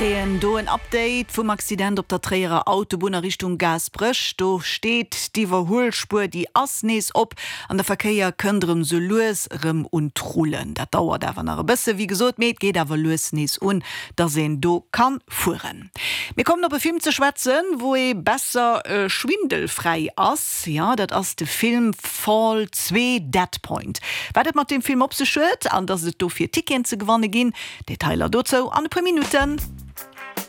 Kréien do en Update vum Accident op der Tréierer Autobunn a Richtung Gaasperech. Do steet d'Iwwerhuelspuer, déi ass nees op an de Verkéier kënnt erëm sou lues erëm un d'Rullen. Dat dauert awer nach e bësse wéi gesot, mee et geet awer lues nees un, dass een do kann fueren. Mir kommen op e Film ze schwätzen, wou ee besser schwindelfräi ass. Jo, dat ass de Film Fall 2, Dead Point. Wat et mat deem Film op sech huet an dass et dofir Ticketen ze gewanne ginn, Detailer dozou an e puer Minutten.